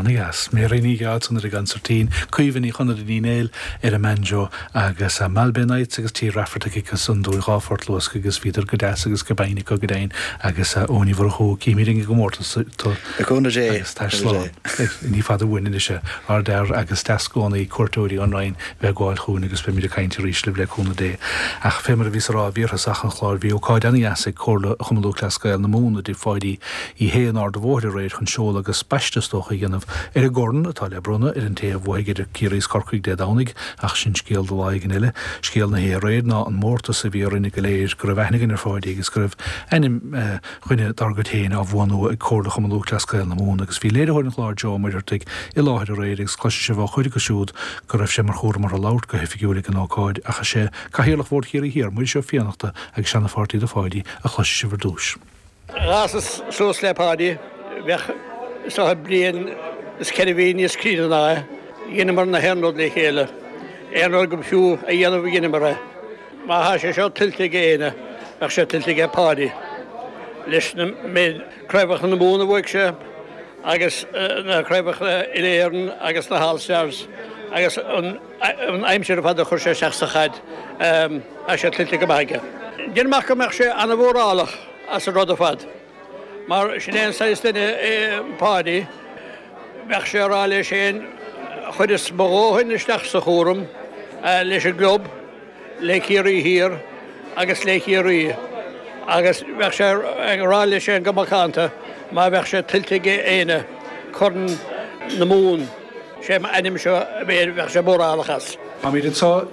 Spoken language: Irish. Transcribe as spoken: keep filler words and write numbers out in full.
Ana-dheas. Mary Ní Ghearaltaigh ar an gconsairtín, Caoimhe Ní Chonaire Ní Néill ar an mbanjo agus uh, Malbay Nights agus Tí Rafferty agus an dúil dhá phort luasctha agus bhíodar go deas agus go binn go deimhin agus uh, Ó Murchú címid an gcomórtas Cúnamh Dé agus tá slán. Ní fada uainn anois ardfhear agus deas i gcónaí cuairteoirí an Rinn bheith gáil chugainn agus beimid ag caint arís libh le cúnamh Dé. Ach fé mar a bhí rá bhíorthasach an chláir bhí ócáid an-dheas ag Comhairle Chumann Lúthchleas Gael na Mumhan i dTigh Pháidí Uí Shé in Ard an Bhóthair aréir chun seoladh agus baisteadh is dócha a dhéanamh ar an gcorn atá le bronnadh ar an té a bhuafaidh idir Ciarraí is Corcaigh Dé Domhnaigh ach sin scéal do lá éigin eile. Scéal na haréir ná an mórtas a bhí orainne go léir go raibh aithne againn ar Pháidí agus go raibh ainm eh, dhuine dár gcuid féin á bhuanú ag Comhairle Chumann Lúthchleas Gael na Mumhan agus bhí léiritheoir an chláir Joe Ó Muircheartaigh i láthair aréir agus cloisfidh sibh ó chuid acu siúd go raibh sé mar chúram orthu labhairt go hoifigiúil ag an ócáid ach is é Cathaoirleach Bhord Chiarraí Thiar Muiris Ó Fiannachta agus seanapháirtí do Pháidí a chloisfidh sibh ar dtús. D'fhásas suas le Páidí bheadh so bliain is ceithre mhí níos críonna ná é, dheineamar na haon rud le chéile. Aon rud go fiú a dhéanamh dheineamar é. Má tá sé seo tuillte ag éinne bheadh sé tuillte ag Páidí. Leis na méid craobhacha na Mumhan a bhuaigh sé agus na craobhacha Uile-Éireann agus na All-Stars agus an aimsir fad a chuir sé isteach sa chaid tá sé tuillte go maith aige. Déanaim amach go mbeadh sé an-mhórálach as an rud ar fad. Mar sin é an saghas duine é Páidí, bheadh sé rá leis féin chuireas mo dhóthain isteach sa chúram leis an gclub, le Ciarraí Thiar agus le Ciarraí agus bheadh sé ag rá leis féin go macánta má bheadh sé tuillte ag éinne Corn na Mumhan sé m'ainm seo bheadh sé mórálach as. Táimid anseo